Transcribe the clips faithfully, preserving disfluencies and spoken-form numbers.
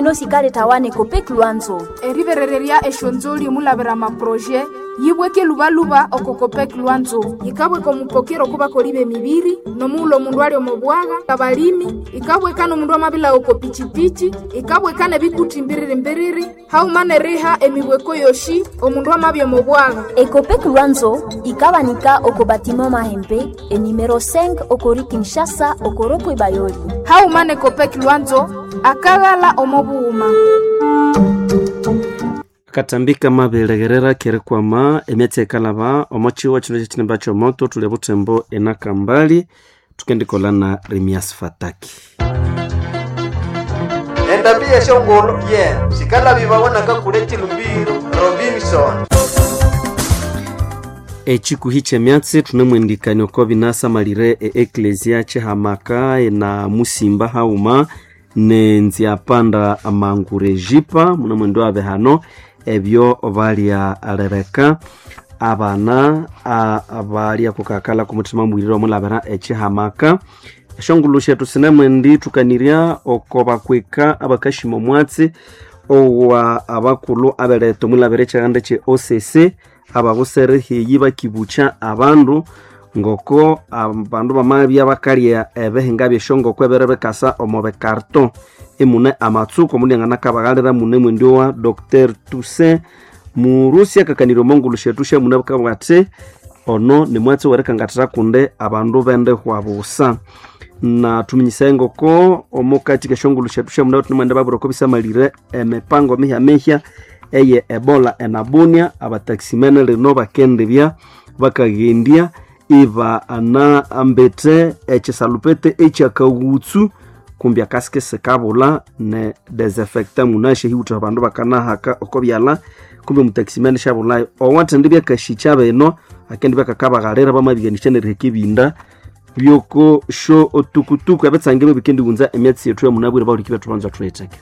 sino sikaletawa n'Ecopec Lwanzo. Eriberererya eshonzoli omulabira amaproje yibweke lubaluba oko Copec Lwanzo. Yikabweka omupokero okubakoli b'emibiri n'omughulhu omundu ali omo bwagha, abalimi, ikabweka n'omundu amabila oko pichipichi, ikabweka n'ebikuti mbiriri-mbiriri, haghuma n'eriha emibweko yoshi omundu amabya omo bwagha. Ecopec Lwanzo ikabanika oko batiment Mahembe enumero cinq okori Kinshasa okoropwe Bayoli. Haghuma n'Ecopec Lwanzo akaghala omo bughuma. Akatambika mabilegherera kerikwama emyatsi ekalaba omo chiwa chino kyekinimba kyomoto tuli butembo enakambali tukendikolha na Remias Fataki. Endambi yeshongolo ye sikalabibawa nakakule chilumbiro Robinson. Ekikuhi kyemyatsi thunemwendikania oko binasamalire e eklesia kyihamaka na musimba haghuma nenziapanda amangurejipa munemwendi wabe hano ebyo balyalereka abana abalya kukakala kumuthima mwirire omulabira ekihamaka. Eshongulhu syethu sinemwendi thukanirya oko bakwika abakashima omwatsi owa abakulhu abeletha omulabira ekyihanda kye O C C ababusere heyi bakibukya abandu ngoko abandu bamabya bakalya ebihinga byeshongoko ebere bikasa omo bikarto emune amatsuko omundu yanganakabaghalira mune mwendi wa Doctor Toussaint Murusi akakanirya omongulhu syethu syamune bukabugha athi ono nimwatsi werikangathira kundi abandu bendihwa busa. Na thuminyisaye ngoko omukati keshongulhu syethu syamune thunemwenda babwira oko bisamalire emipango mihya-mihya eye Ebola enabunia abataximene lino bakendibya bakaghendya iba ana ambete ekisalupete ekyakaghutsu kumbi akasike sikabulha ne desinfectant munashe hiwutha abandu bakanahaka oko byalha kumbi omutaximene syabulhayo owathindi byakashikya bino akendi byakakabaghalira bamabighanisya neriheka ebinda byoko sho otukutuku ebitsange byebikendighunza emyatsi yethu yamunabwire bahuliki bethu banza thuyitheke.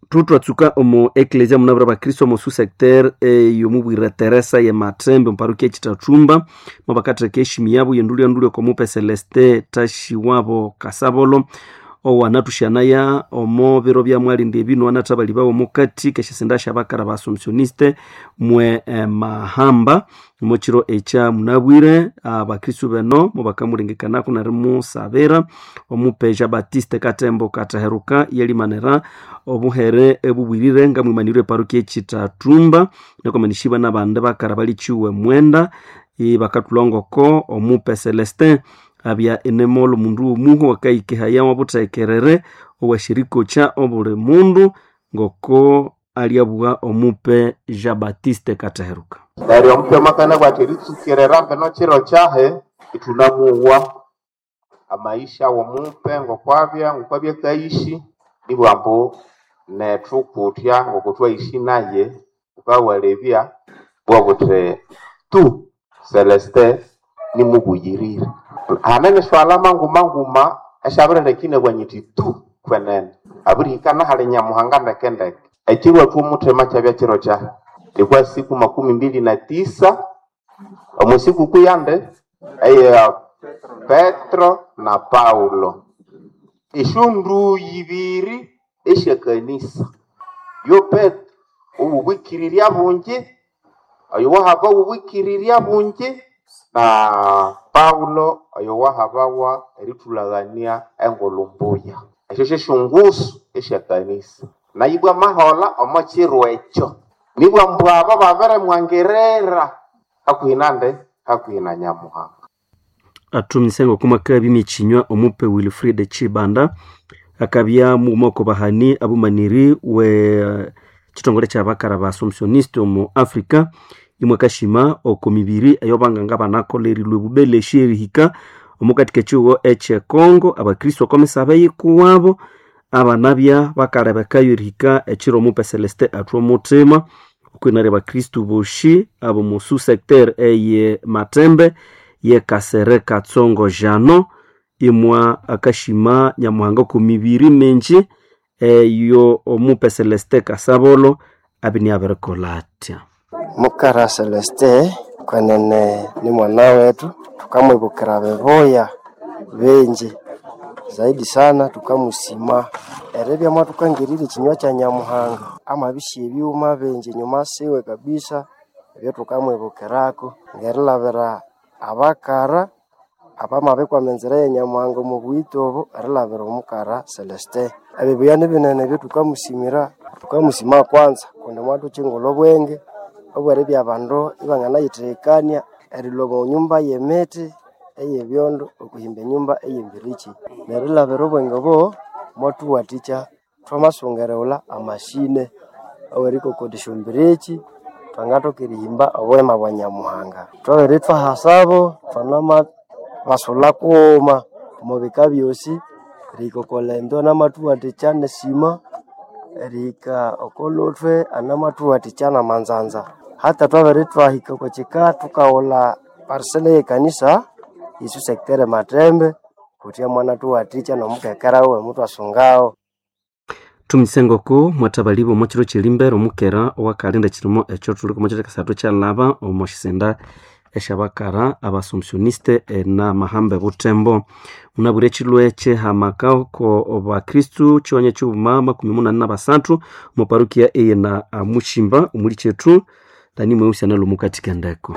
Tutwatsuka omu eklesia munabwire abakristo omu susecteur eyomubwire Teresa ye Matembe omuparokia ekitathumba mubakatheka eshimi yabo yendulya-ndulya okomupe Celeste Tashiwabo Kasabolo owanathushyanaya omo biro bya mwalindi ebino wanathabali bawo omukati keshisinda syabakara ba Assumptioniste mwe eh, mahamba omukiro ekya munabwire abakristu beno mubakamulengekanaku nerimusabira omupe Jean Baptiste Katembo Kataheruka yelimanira obuhere ebubwirire ngamwimanirwe eparokia ekitathumba nekomanishibwa nabandi bakara balichiwe mwenda ibakathulhangoko omupe Celestin abya enemolo mundu omuhu wakahikihaya wabuthekerere owashirikokya obuli mundu ngoko alyabugha omupe Jean Baptiste Kataheruka. Neryo omupe makana bwati eritsukirira mbino kiro kyahe ithunamuwa amaisha womupe ngokwabya ngokwabya kaishi nibwambu nethu kutya ngokuthwaishi naye ukawalebya bwabuthi tu Celeste nimubuyirire hanene swalama nguma nguma esyabirilekine bwanyiti tu kwenene abirihikana hali Nyamuhanga ndekendeke ekiro ethu omuthema kyabya kiro kyahe ilikuwa siku makumi mbili na tisa omu sikukuu yande eya Petro na Paulo eshondu ibiri esyakanisa yo Petro obubwikirirya bungi oyo wahaba obubwikirirya bungi na Paulo oyo wahabawa erithulagania engulhu mbuya esyo syesyongusu esyakanisa nayibwa mahola omo kiro ekyo nibwa mbwa abo babirimwangerera hakuhi nande hakuhi na Nyamuhanga. Athumisenga okumaka bimichinywa omupe Wilfred Chibanda akabya mughuma oko bahani abumaniri we chitongole kyabakara ba Assumptioniste omu Africa imwe kashima oko mibiri eyobanganga banakolerilwe bubeleshi erihika omukati k'ekihugo ekye Congo abakristo oko misabe yikuwabo abanabya bakalebekayo erihika ekiro omupe Celeste athwa omuthima okwinarya abakristo boshi abo mu susecteur eye Matembe ye Kasere Katsongo Jano imwa akashima Nyamuhanga ku mibiri mingi eyo omupe Celeste Kasabolo abini abirikolha atya. Mukara Celeste kwenene ni mwana wetu tukamwibukira bibuya bingi Zaidi sana tukamusima eribya mwathukangirira ekinywa kya Nyamuhanga amabisya ebyuma bingi nyuma siwe kabisa ebyo tukamwibukirako ngerilabira abakara abamabikwama enzira ya Nyamuhanga omu buyito obo erilabira omukara Celestin. Ebibuya nibinene ebyo tukamusimira, tukamusima kwanza kundi mwathukyingulha obwenge obweribya abandu ibanganayitheghekania erilhwa omo nyumba y'emiti ey'ebyondo okuhimba enyumba ey'embirikyi. Nerilabira obwenge obo mwathuwathikya thwamasunga erighulha amashine awerikokodya esyombirikyi thwangathoka erihimba obuhema bwa Nyamuhanga. Thwabere thwahasabo thwanama basulha kughuma omu bika byosi erihika oko lendo anamathuwathikya nesima erihika oko luthwe anamathuwathikya namanzanza. Hata twabere twahika oko kika thukaghulha parisela y'ekanisa yesu sector Matembe kutya mwanathuwathikya nomukekera wiwe muthwasungawo. Tumisengoko mwathabaliba omo kiro kyerimbere omukera owakalinda ekirimo ekyo thuli omo kiro kyakasathu kyalaba omo sisenda esyabakara abasomsioniste enamahamba ebuthembo. Munabwire ekilwe kyehamaka oko bakristu kiwanya kighuma makumi munani nabasathu omo parukia eyena Mushimba omuli kyethu Dani Mweusi analumukathika endeko.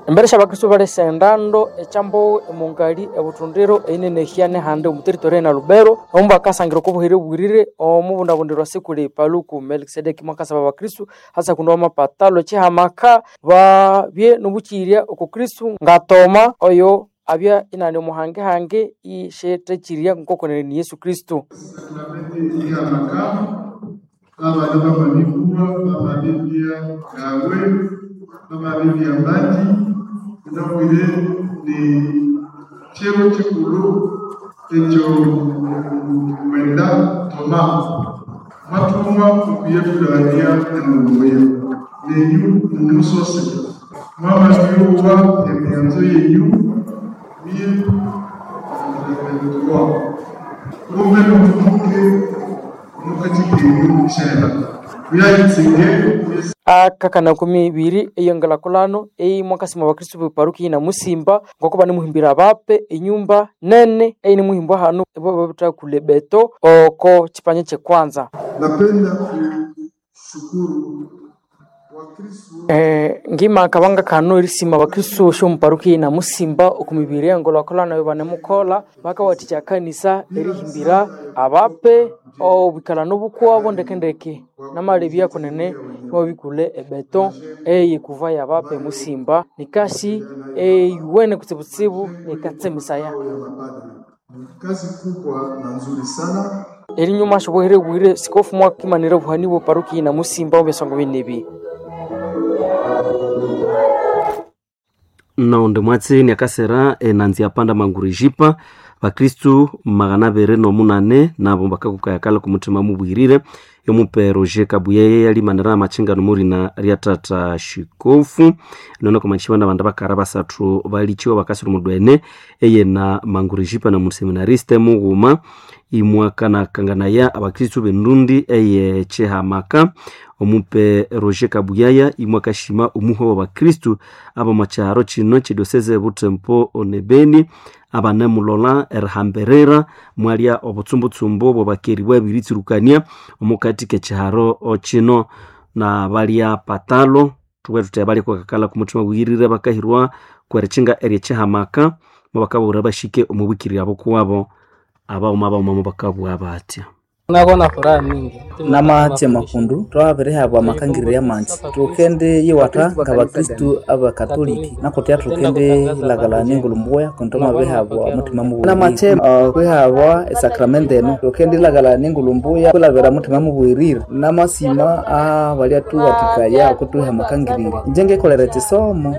Embere syabakristu balesa endando ekyambowe emungali ebuthundiro einenehya nehandi omu territory na Lubero omu bakasangira okobuhere bwirire omubundabundirwa sikuli Paluku Melkisedeki mwakasaba abakristu hasa kundi wamapatalo ekihamaka babye nobukyirya oko Kristu ngatoma oyo abya inani omuhangehange ishethekyirya nkokonene ni Yesu Kristu. Ihamaka babana bamabibulwa bamabibya gawe bamabibya mbaki ndabwire ni chiro chikulu ekyo mwenda toma mwatumwa okuyetulania enongoya nenyu mumusose mwamabyuwa emyanzo yenyu mie mwa muve mutumuke mukatikenyu shela kuyayitsinge akakana kumi ibiri eyongelakulano eyi mwakasima abakristu beparuki na Musimba ngoko banemuhimbira abape enyumba nene eyinimuhimbwa hanu babitha kule beto oko chipanya kyekwanza. Napenda kushukuru Eh, ngima kabanga kano erisima abakristu shomuparuki na Musimba okumibiri engolakolano eyo banemukola bakawathikya kanisa erihimbira abape obwikala nobukwabo ndekendeke namalebya kunene imwabikule ebeto eyikuva yabape Musimba nikasi eyuwene kutsibutsibu nikatsemisaya. Kazi kubwa na nzuri sana. Erinyuma shobuhere bwire sikofu mwakimanira obuhani bwe paruki na Musimba omu binebi. Naonde mwatsi niakasera enanzi yapanda mangurijipa bakristu magana abiri nomunane nabo bakakukayakala kumutima mubwirire yomupe Roger Kabuyeye yalimanira amachingano murina rya tata shikofu nono komachiwa na bandu bakara basathu balichiwa bakasira mudwene eyena mangurijipa na museminariste mughuma imwakanakanganaya abakristu bendundi eye chihamaka omupe Roger Kabuyaya imwakashima omuhwa wa bakristu abamacharo chino chidioseze Butembo onebeni abanemulola erihamberera mwalya obutsumbutshumbu bwabakeri bwabiritsirukania omukati kechiharo chino na balya patalo thubwe thuthi balya kwakakala kumuthima bwirire bakahirwa kwerichinga eryechihamaka mubakabura bashike omubwikirira bukuwabo abauma abauma mubakabwa batya Nakona furaha mingi namaatse makundu twabirihabwa amakangiriro y'amanzi tukende yiwatha ngabakristu abakatoliki nakutya tukende ilagala nengulu mbuya kundi twamabihabwa mutima mubwirire namatse uh, kwihabwa esakramende eno tukende ilagala nengulu mbuya kwilabira mutima mubwirire namasima abalya tuwathikaya okutuha amakangiriro inje ngekolera ekisomo.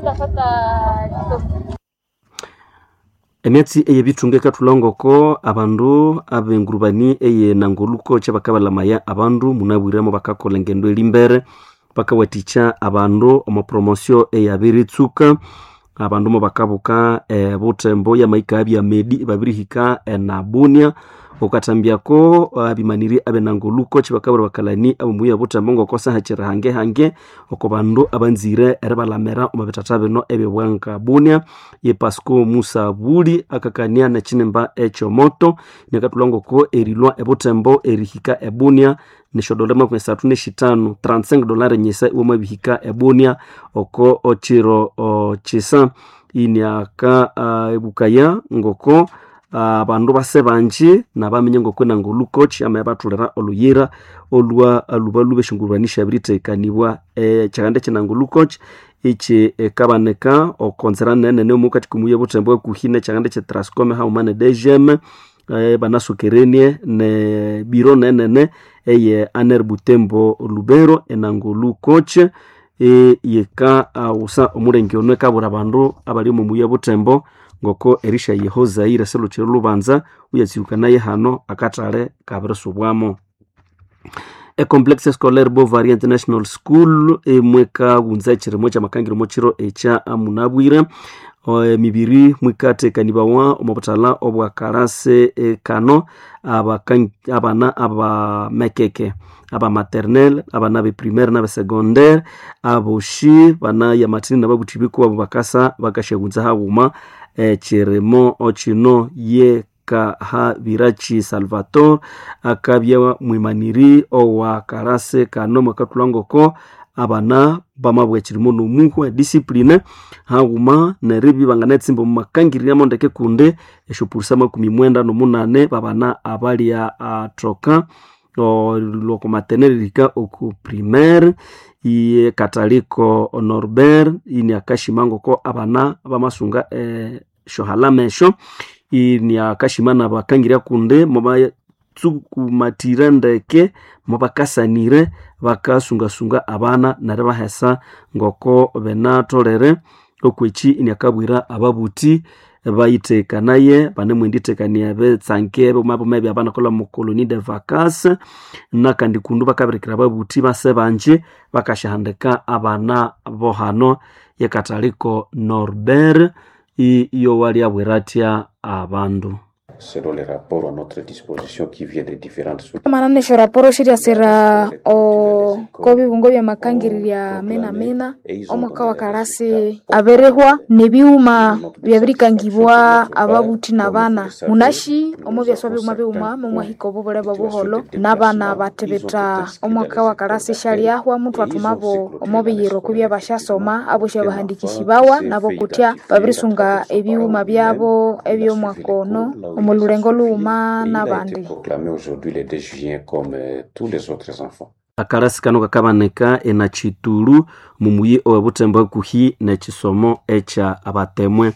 Emyatsi eyebithunga ekathulangoko abandu abengurubani eye nangoluko kyabakabalamaya abandu munabwiremo bakakolha engendo erimbere bakawathikya abandu omo promosio eyabiritsuka Abandu mo bakabuka e, Butembo yamahika bya medi babirihika enabunia okatambiako abimaniri abenangoluko chibakabura bakalani abomuya Butembo ngokosa hachira hange hange oko bandu abanzire eribalamera omu bitata bino ebyobwanka Bunia. Ye Pasco Musa Buli akakania nechinemba ekyomoto nekatulwa ngoko erilwa ebutembo erihika ebunia neshodole makumi asathu neshitanu trente-cinq dolari nyisa iwamabihika ebunia oko ochiro chisa. Iniaka uh, ebukaya ngoko abandu uh, base banji nabamenye ngoko nangolukochi ama yabathulira oluyira olwa lubalu beshingurwanisha biritekanibwa e, kyaganda kyenangolukochi ichi ekabaneka okonzera nene omukati kumuye Butembo kuhine kyaganda kye Trascom hauma ne D G M e, banasukerenie ne biro nenene eye aner Butembo Lubero enangolukochi e, yeka awusa omulenge ono ekabura abandu abali omu muye Butembo ngoko erisha yehozaire seluchiro lubanza uyatsirukanaye hano akatale kabirisubwamo. E Complexe Scolaire Bovary International School emweka wunza ekirimo kyamakangiro mukiro ekya munabwire emibiri mwikatekanibawa omu butala obwa karase e, kano abana abamekeke aba maternelle abana be primaire n'abe secondaire aboshi bana yamatini nababuthi bikuwabo bakasa bakashaghunza haghuma ekirimo okino ye Kahabirachi Salvatore akabya mwimaniri owa karase kano mwakathulha ngoko abana bamabwa ekirimo nomuhwa discipline haghuma neribya banganatsimba omu makangirira ndeke kundi esyopurusa makumi mwenda nomunane babana abalya athoka lwoko maternelle erihika oku primaire. Iye Kataliko Norbert ini akashima ngoko abana bamasunga esyohalama esyo ini akashima nabakangiria kundi mubatsukumatira ndeke mubakasanire bakasungasunga abana neryo bahesa ngoko benatholere okweki ini akabwira ababuthi bayitekanaye banemwenditekania betsange bomabomebya abanakolha mu colonie de vacances nakandi kundu bakabirikira ababuthi base banji bakashahandika abana bohano. Yekataliko Norbert iyo waliabwira atya abandu selon les rapports à notre disposition qui viennent de différentes sources. Manane esyo raporo shiryasira oko bibungo byamakangirira mena mena omwaka wa karasi abirihwa nebighuma byabirikangibwa ababuthi nabana munashi omo byaswa bighuma bighuma momwahika obubule bobuholho nabana bathibitha omwaka wa karasi syalyahwa muthwathumabo omo biyiro kubya basyasoma abosi abahandikisibawa nabo kutya babirisunga ebighuma byabo ebyomwaka ono omu lulengo lughuma nabandi. Proclamé aujourd'hui le deux juin comme tous les autres enfants. Akarasi kano kakabaneka enachituru mumuyi owebutembo hakuhi nekisomo ekya abatemwe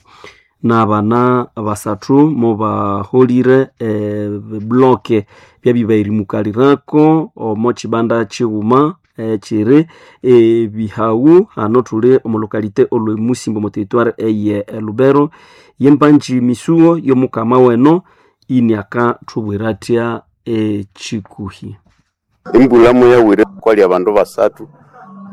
n'abana basathu mubaholire ebibloke byabibairimukalirako omo kibanda kighuma ekiri ebihawu hano thuli omu lokalite olwemusimba omu territoire eye Lubero yempanji misuo yomukama weno ini akathubwira atya ekikuhi. Embulamu yawire kwali abandu basathu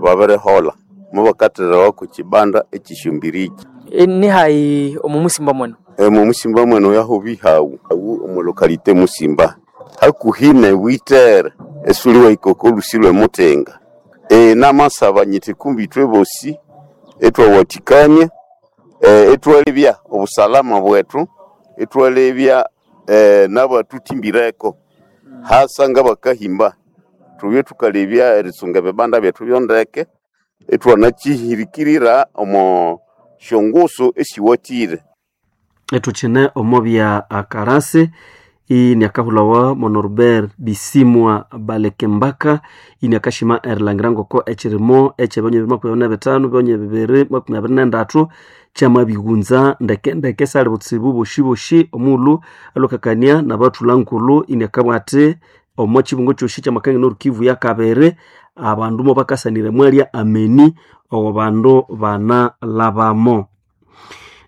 babirihola mubakatherawa ku kibanda ekishumbiriki. Nihayi omu musimba mwenu? Omu musimba mwenu yaho bihawu awu omu lokalite musimba hakuhi ne witere esuli wahika olusi lwe mutenga. E, namasaba nyiti kumbi ithwe bosi ethwawathikania e, ethwalebya obusalama bwethu ethwalebya e, nabatuthimbireko hasa ngabakahimba thubye thukalebya erisunga ebibanda byethu byondeke ethwanakihirikirira omo syongusu esiwathire. Ethukyine omo bya akarasi ini akahulawa monorbert bisimwa balekembaka ini akashima erilangira ngoko ekirimo ekyebyonya bibiri makumi abiri nebithanu byonya bibiri makumi abiri nendathu kyamabighunza ndekendeke sali butsibu boshiboshi omughulhu alukakania nabathulha nkulhu ini akabugha athi omo kibungo kyosi kyamakangania norukivu yakabiri abandu mubakasanire mwalya ameni owo bandu banalabamo.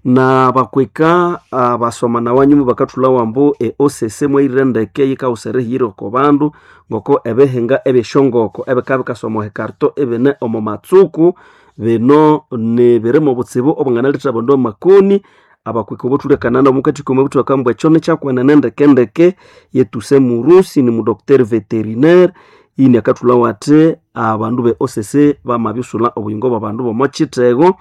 Na bakweka abasoma wanyuma bakathulha wambu e O C C mwayirire ndeke yikawusa erihiyira oko bandu ngoko ebihinga ebyeshongoko ebikabya bikasoma ekarto ebine omo matsuku Bino ni birimo obutsibu obwanganalethera abandu amakoni. Abakwika obothulekana nabo mukathika omo buthu bakambwa ekyo nikyakwenene ndekendeke. Yetuse murusi ni mudocteur veterinaire ini akathulhawo athi abandu be O C C bamabyusulha obuyingo bw'abandu b'omo kithego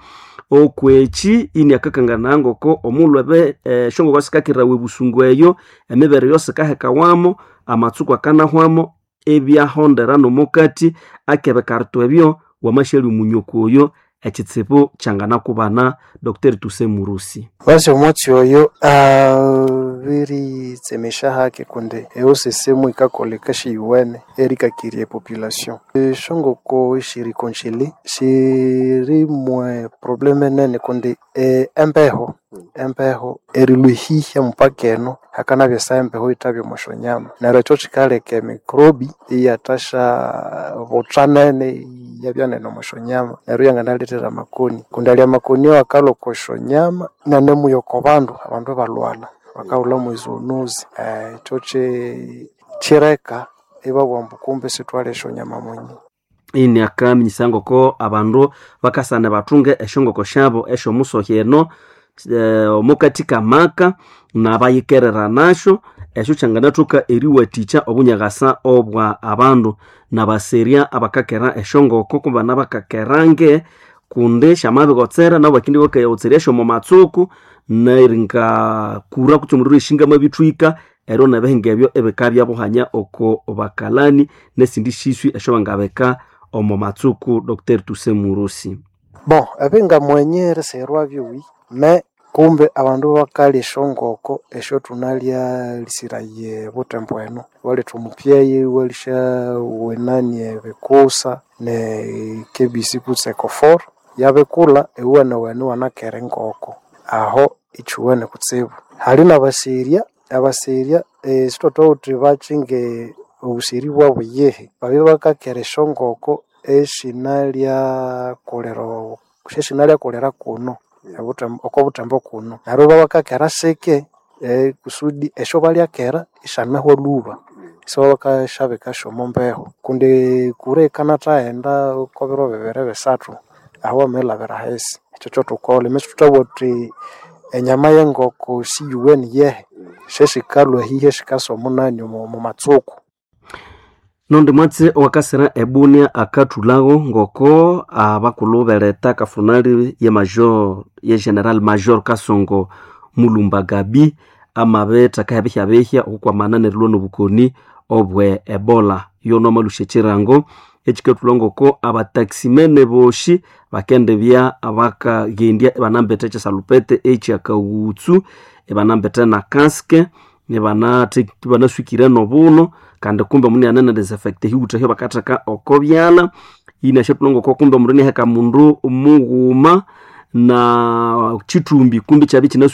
okweki. Ini akakanganaya ngoko omulhu ebe esyongoko sikakirawa ebusungu eyo, emibere eyo sikahekawamo, amatsuku akanahwamo, ebyahondera n'omukati akebikarito ebyo wamasyalya omunyoko oyo ekitsibu kyanganakubana. Docteur Tuse Murusi. Basi omwatsi oyo abiritsemesha hake kundi eosesemu ikakoleka shiyuwene erikakiria epopulation. Eshongoko shirikonchili shirimwe probleme nene kundi eh, embeho embeho erilwihihya mupaka eno hakanabya esa embeho ithabya omusyonyama, neryo ekyo kikaleka emikrobi iyathasha butha nene iyabya nene omusyonyama, neryo iyanganalethera amakoni kundi alya amakoni ayo akalhwa okwa syonyama nanemuya oko bandu, abandu ibalhwalha bakahulhamu ezoonozi. Eh, ekyo ki- kireka ibabugha ambu kumbe isithwalya esyonyama munye. Ini akaminyisa ngoko abandu bakasana bathunge esyongoko syabo esyomusohi eno eh, omukati kamaka nabayikerera nasyo esyo kyanganathoka eriwathikya obunyaghasa obwa abandu nabaserya abakakera esyongoko kubana bakakerange kundi syamabigotsera nabo bakindi bakayagotserya syomo matsuku neringa kura kutse omuliro eshinga amabithwika eryo nebihinga ebyo ebikabya buhanya oko bakalani nesindi siswi esyo bangabika omo matsuku. Docteur Tuse Murusi. Bon, ebingamwenye erisigherwa byuwi me kumbe abandu bakalya esyongoko esyo thunalya lisiraye butembo eno waletha omupyeyi walisya wenani ebikusa ne K B C kutse ecofor yabikulha iwuwenewene iwanakera engoko aho ikyuwene kutsibu. Hali nabaserya abaserya eh, sithwathuwa bakyinge obuseri bwabu yihi babya bakakera esyongoko esinalyakolera esyasinalyakolera kuno ebutembo oko butembo kuno neryo babakakera sike eh, kusudi esyo balyakera isyanahwa lhuba isibabakashabika syomo mbeho kundi kura ikanathaghenda oko biro bibiri bisathu aho wamaghilhabira ahisi. Ekyo kyothukolha ime sithuthabugha thuthi enyama yengoko siyuwene yehe syesikalhwa hihi esikasa omunani omo matsuku. Nondi mwatsi owakasira ebunia akathulhago ngoko abakulhu beleta kafunali ye major ye general major Kasongo Mulumba Gabi amabitheka ebihyabihya okukwamana nerilwa nobukoni obwe Ebola. Yono amalusha ekirango ekikathulha ngoko abataximene boshi bakendibya bakaghendya ibanambethe ekyisalupete ekyakaghutsu, ibanambethe na casque, ibanaswikire nobuno kandi kumbe omundu iniane disinfect ehiwutha ehyobakatheka oko byalha. Inasyathulha ngoko kumbe omundu inaheka mundu mughuma na kyithumbi kumbe ikyabya ikyina